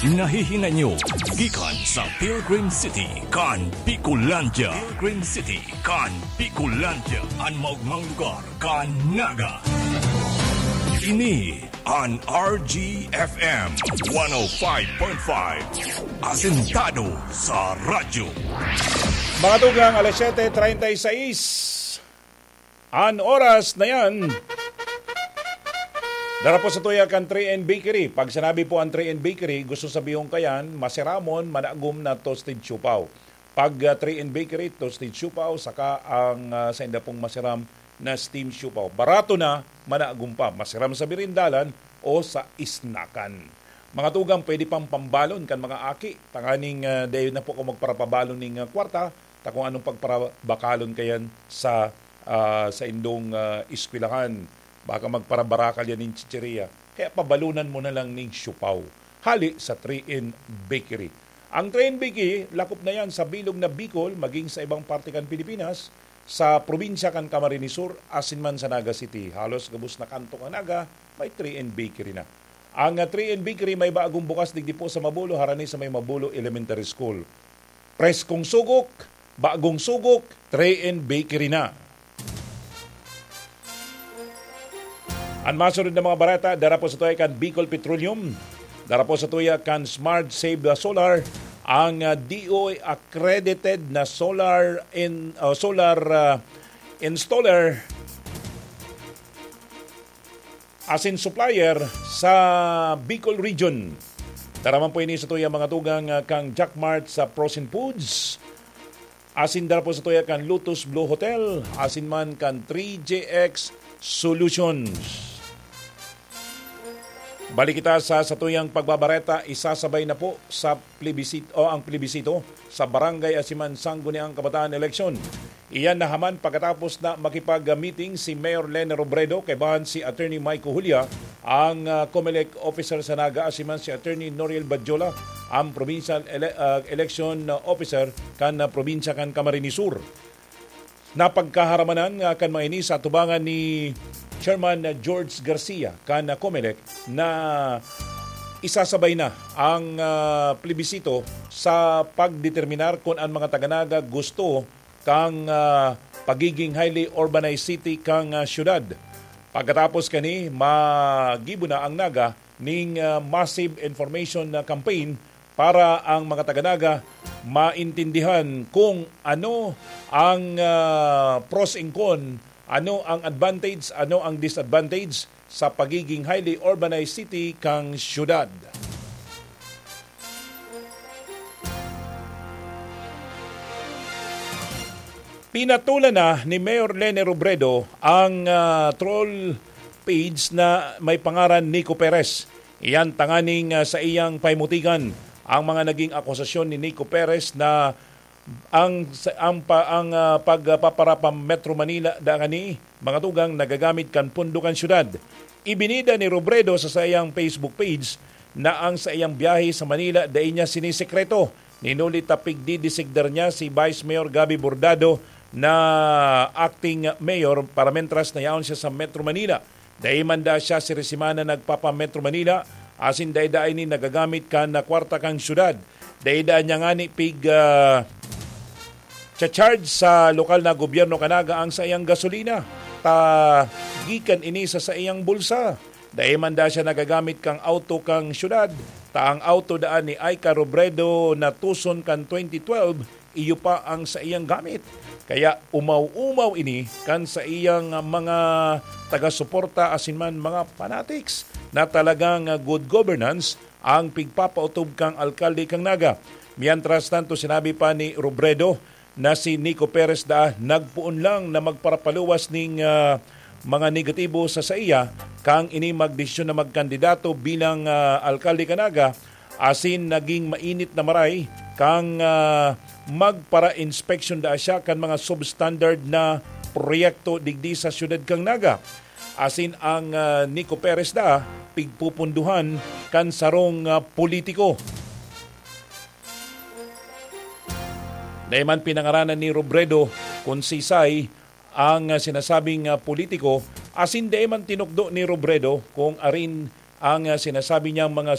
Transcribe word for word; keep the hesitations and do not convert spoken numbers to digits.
Nahihinay nyo gikan sa Pilgrim City kan Bicolandia. Pilgrim City kan Bicolandia, an maogmang lugar kan Naga. Ini an R G F M one oh five point five, asentado sa radyo. Mga tugang, alas siyete treinta y seis. An oras na yan, dara po sa tuya kan three N Bakery. Pag sinabi po ang three N Bakery, gusto sabihon kayan, masiramon, managom na toasted siopao. Pag, ah, three N Bakery, toasted siopao, saka ang, ah, sainda pong masiram na steam siopao. Barato na, managom pa. Masiram sa birindalan o sa isnakan. Mga tugang, pwede pang pambalon kan mga aki. Tanganing, ah, dahil na po kung magparapabalon ning, ah, kwarta, ta kung anong pagparabakalon kayan sa, ah, sa indong, ah, eskwelahan. Baka magparabarakal yan ning chicheria. Kaya pabalunan mo na lang ning siopao. Hali sa three N Bakery. Ang three N Bakery, lakop na yan sa bilog na Bicol, maging sa ibang parte kan Pilipinas, sa probinsya kan Camarines Sur, asin man sa Naga City. Halos gabos na kanto kan Naga, may three N Bakery na. Ang, ah, three N Bakery may bagong bukas digdi po sa Mabulo, harani sa may Mabulo Elementary School. Preskong sugok, bagong sugok, three N Bakery na. An masunod na mga bareta, dara po sa tuya kan Bicol Petroleum, dara po sa tuya kan Smart Save Solar, ang, ah, D O A accredited na solar in, ah, solar, ah, installer asin supplier sa Bicol Region. Dara man po ini sa tuya mga tugang, ah, kang Jack Mart sa Frozen Foods. Asin dara po sa tuya kan Lotus Blue Hotel, asin man kan three J X Solutions. Balik kita sa satuyang pagbabareta, isasabay na po sa plebisito, o ang plebisito sa barangay asin man sangguniang kabataan eleksyon. Iyan nahaman pagkatapos na makipag-meeting si Mayor Lene Robredo kaibahan si Attorney Mike Julia, ang, ah, Comelec officer sa Naga, asin man si Attorney Noriel Badjola, ang provincial ele-, ah, election officer kan, ah, probinsya kan Camarines Sur. Napagkaharamanan nga kan mga ini sa atubangan ni Chairman George Garcia kan Comelec na isasabay na ang, ah, plebisito sa pagdeterminar kun an mga taga-Naga gusto kan, ah, pagiging highly urbanized city kan, ah, syudad. Pagkatapos kani, magibo na ang Naga ning, ah, massive information na campaign para ang mga taga-Naga maintindihan kung ano ang, ah, pros and con, ano ang advantage, ano ang disadvantage sa pagiging highly urbanized city kan syudad. Pinatulan na ni Mayor Lene Robredo ang, ah, troll page na may pangaran Nico Perez. Iyan tanganing, ah, sa iyang pahimutigan ang mga naging akusasyon ni Nico Perez na ang, sa, ang, pa, ang, ah, pagpaparapa Metro Manila da kani mga tugang nagagamit kan pondo kan syudad. Ibinida ni Robredo sa saiyang Facebook page na ang saiyang biyahe sa Manila dai niya sinisekreto. Ninuli ta pigdidisigdar niya si Vice Mayor Gabby Bordado na acting mayor para mentras na yaon siya sa Metro Manila. Dai man da siya sirisimana nagpapa-Metro Manila, asin dai da ini nagagamit kan na kwarta kan syudad. Dai da niya ngani pig, ah, cha-charge sa lokal na gobyerno kan Naga ang saiyang gasolina, ta gikan ini sa saiyang bulsa. Dai man da siya nagagamit kan auto kan syudad, ta ang auto daan ni Aika Robredo na tuson kan twenty twelve, iyo pa ang saiyang gamit. Kaya umaw-umaw ini kan saiyang mga taga-suporta asin man mga fanatics na talagang good governance ang pigpapautob kan alkalde kan Naga. Mientras tanto, sinabi pa ni Robredo na si Nico Perez daa nagpoon lang na magparapaluwas ning, ah, mga negatibo sa saiya kan ini magdesisyon na magkandidato bilang, ah, alkalde kan Naga, asin naging mainit na maray kan, ah, magpara-inspeksyon daa siya kan mga substandard na proyekto digdi sa siyudad kan Naga. Asin ang, ah, Nico Perez da pigpupunduhan kan sarong, ah, politiko. Dai man pinangaranan ni Robredo kun sisay ang, ah, sinasabing, ah, politiko, asin dai man tinukdo ni Robredo kung arin ang, ah, sinasabi niyang mga